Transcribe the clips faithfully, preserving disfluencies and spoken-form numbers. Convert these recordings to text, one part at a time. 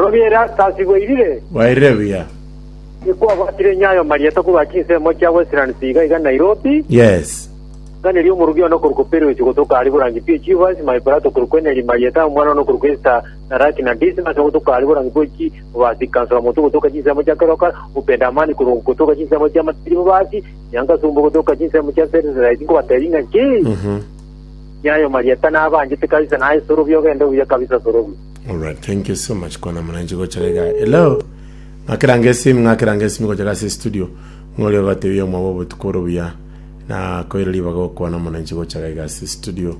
Sorobi Erastus, bwairire? Bwairire buya. Ikwabwatire nyayo marieta korwa chinsemo chia Westlands iga iga Nairobi. Yes. Nganeria omorugi ono korwa Perus gotoka ari Borangi P Chivas, my brother korwa Kweneri Marieta, omwana ono korwa Esther Naraki na Dismas gotoka ari Borangi P Mubasi, Kansala Moto gotoka chinsemo chia Keroka, Upenda Amani korwa gotoka chinsemo chia Matiri Mubasi, Nyanga Sumbo gotoka chinsemo chia Serengeti, nkobatebia ng'aki Mhm. nyayo Marieta nabanjete kabisa, naye Sorobi ogende buya kabisa, Sorobi. Alright, thank you so much kwana mwananchi gocha iga. Hello. Ng'akiranga esimu, ng'akiranga esimu gocha ase studio. Ng'ori ogatebia omwabo obotuko oro buya. Na koira ribaga gokwana mwananchi gocha iga ase studio.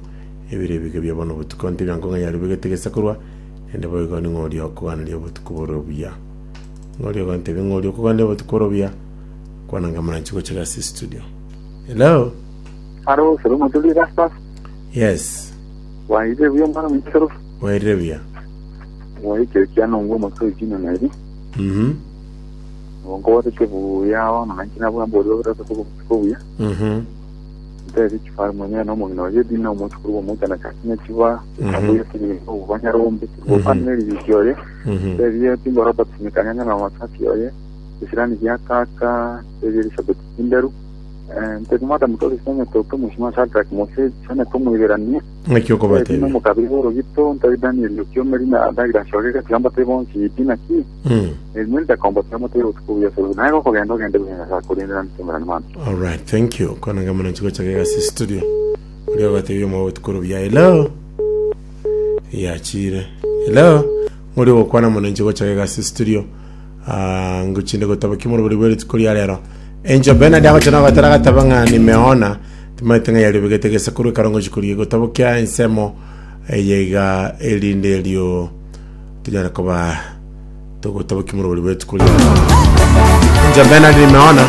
Ebire ebige bia bono botuko ntebia nkong'a yaribegete gesa korwa. Nende boigo ni ng'ori okoganeria obotuko boro buya. Ng'ori ogontebia ng'ori okoganeria obotuko boro buya. Kwana nga mwananchi gocha ase studio. Hello. Aro, Soro Motuli Rastas. Yes. Waire buya, mwana mwisoro? Wairire buya. Waikire kiano ngo moto jina nairi. Mhm. Ngo wate buya wa na nkina bwa mbori wa ko ko buya. Mhm. Nte chifar mwenye no mo no je dina mo chukuru mo tana kakinya chiwa. Mhm. Abuya kiri ko banyarombe ko paneli bikiore. Mhm. Te timbo Robert Mikanyanya na masasi oye. Isirani ya kaka, te Elizabeth Kinderu. Eh, nte mata mtoto sanya toke mushima Shadrack Mose sana tomo iberania. Ng'aki Dina okobatebia. mukabiri gito nte Daniel Okiomeri na Douglas Shogeka tigamba te bonsi dina ki. Mm. Mwenda komba tamo te utuku ya soro naye ko gendo gende buya sa kurindira ntumira man. All right, thank you. Kona nga mwananchi gocha ase studio. Uri ogatebia omwabo obotuko oro buya. Hello. Yachire. Hello. Ng'ori ogokwana mwananchi gocha ase studio. Ah, nguchinde gotaba kimoro buri bweri rituko ria rero. Angel Bernard agocha na gatara gataba ng'a nimeona timaite ng'a yaribegete gesa korwa ekarongo chikoria gotabo kia ensemo eyeiga erinde erio tunyare koba togotaba kimoro buri bweri rituko ria rero. Angel Bernard, nimeona.